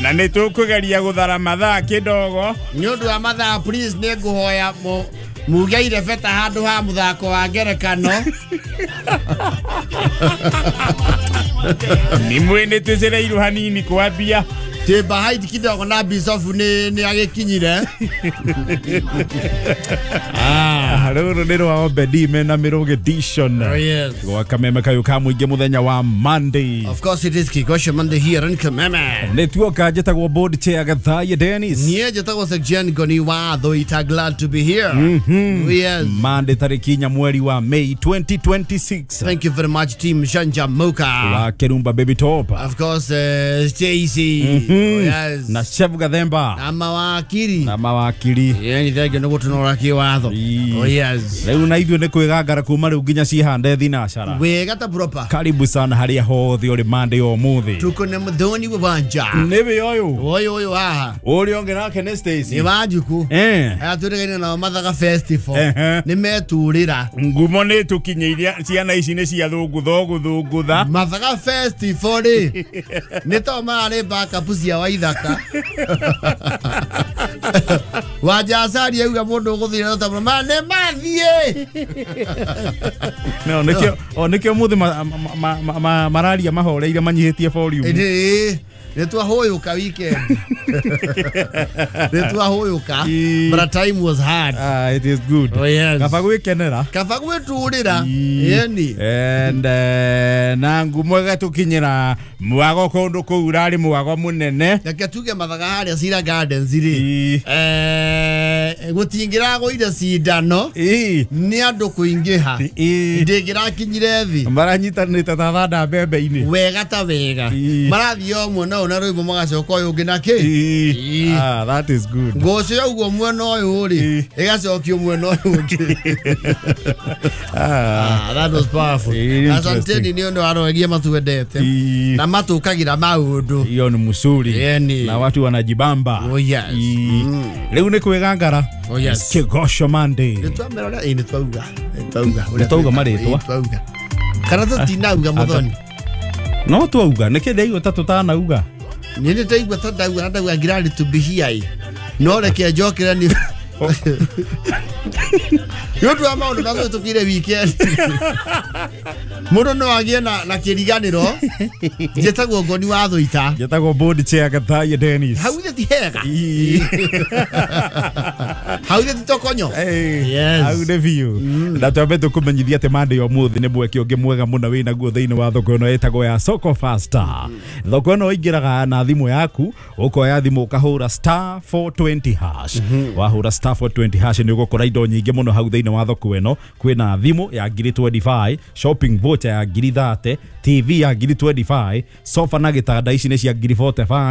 Na nĩ tũkũgeria gũthara mathaa kĩdogo. Nĩ ũndũ wa mathaa, please, nĩ ngũhoya mugeire beta handũ ha mũthako wa ngerekano. Nĩ mwĩ nĩ tũcereirwo hanini kwambia. Twĩ behind kidogo na Bisofu nĩ agĩkinyire. Rũrũ nĩ rwa Obedi mena Mĩrũgĩ edition. Oh, yes. Gwa Kameme kayũ ka mũingĩ mũthenya wa Monday. Of course it is Kigosho Monday here in Kameme. Nĩ tuoka, njĩtagwo board chair Gathaiya Dennis. Niĩ njĩtagwo Section Ngoni wa Thuita, glad to be here. Yes. Monday tarĩki 4 mweri wa May 2026. Thank you very much, team Shanja Muka. Wa Kerumba Baby Top. Of course, Stacy. Oh, yes. Na Chef Gathemba. Na mawakiri. Na mawakiri. Yeah, ni thank you nĩ gũtũnora kĩwatho. Ii. Oh, yes. Rĩu na ithuĩ nĩ kwĩgangara kuma rĩu nginya cihande thinacara. Wega ta proper. Karibu sana harĩa hothe ũrĩ Monday ũmũthĩ. Tuko na Muthoni wa Wanja. Nĩwe ũyũ. Ũyũ ũyũ haha. Ũrĩa ũngĩ nake nĩ Stacy. Nĩ Wanjuku. Aya twĩrĩgaine nao Mathaga Festival. Nĩ meturĩra. Ngumo nĩ tũkinyĩirie, ciana ici nĩ cia thũngũtha ũgũthũngũtha. Mathaga Festival rĩ, nĩ to mararĩ backup cia Waithaka. Wanja Acari auga mũndũ ũgũthiĩ na ma nĩ mathiĩ. No nĩkĩo, o nĩkĩo mũthĩ mararia mahoreire manyihĩtie volume. Ĩĩ, nĩ twahũyũka weekend. Nĩ twahũyũka. But time was hard. Ah, it is good. Oh, yes. Kaba gwĩkenera. Kaba gwĩturĩra. Ii. Yeni. And na ngumo ĩgatũkinyĩra mwago kũndũ kũu ũrarĩ mwago mũnene. Reke tuge Mathaga harĩa Cira Gardens rĩ. Ii. Gũtingĩragũire cindano. Nĩ andũ kũingĩha. Ndĩngĩrakinyire thĩ. Maranyitanĩte ta thanda mbembe-inĩ. Wega ta wega. Marathiĩ o mwena ũyũ na rwĩmbo magacoka ũyũ ũngĩ na kĩ. Ah, that is good. Ngũcĩ yaugwo mwena ũyũ rĩ, ĩgacokio mwena ũyũ ũngĩ. Ah. Ah, that was powerful. Interesting. Asanteni nĩ ũndũ wa roegia matuendete. Na matũkagĩra maũndũ. Hiyo ni msuri. Yeni. Na watu wanajibamba. Oh, yes. Rĩu nĩ kwĩgangara. Oh, yes. Kigosho Monday. Nĩ twamera ũrĩa, ĩ, nĩ twauga. Nĩ twauga. Nĩ twauga marĩtwa. Ĩ, twauga. Kana tũtinauga Muthoni? No twauga, nĩkĩ ndaigua ta tũtanauga? Nĩ nĩ ndaigua ta ndauga na ndauga glad to be here. No reke njokere nĩ nĩ ũndũ wa maũndũ marĩa tũkire weekend. Mũndũ no agĩe na kĩriganĩro. Njĩtagwo Ngoni wa Thuita. Njĩtagwo board chair Gathaiya Dennis. Hau ithe ti hega. Hau ithe ti tokonyo. Yes. Hau nĩ biũ. Na twambe tũkũmenyithia atĩ Monday ũmũthĩ nĩ mweke ũngĩ mwega mũno wĩ naguo thĩinĩ wa thoko ĩno ĩtagwo ya Soko Faster. Thoko ĩno ũingĩraga na thimũ yaku, ũkoya thimũ ũkahũra *420#. Wahũra *420# nĩ ũgũkora indo nyingĩ mũno hau thĩinĩ wa thoko ĩno. Kwĩna thimũ ya ngiri 25, shopping voucher ya ngiri 30, TV ya ngiri 25, sofa na gĩtanda ici nĩ cia ngiri 45.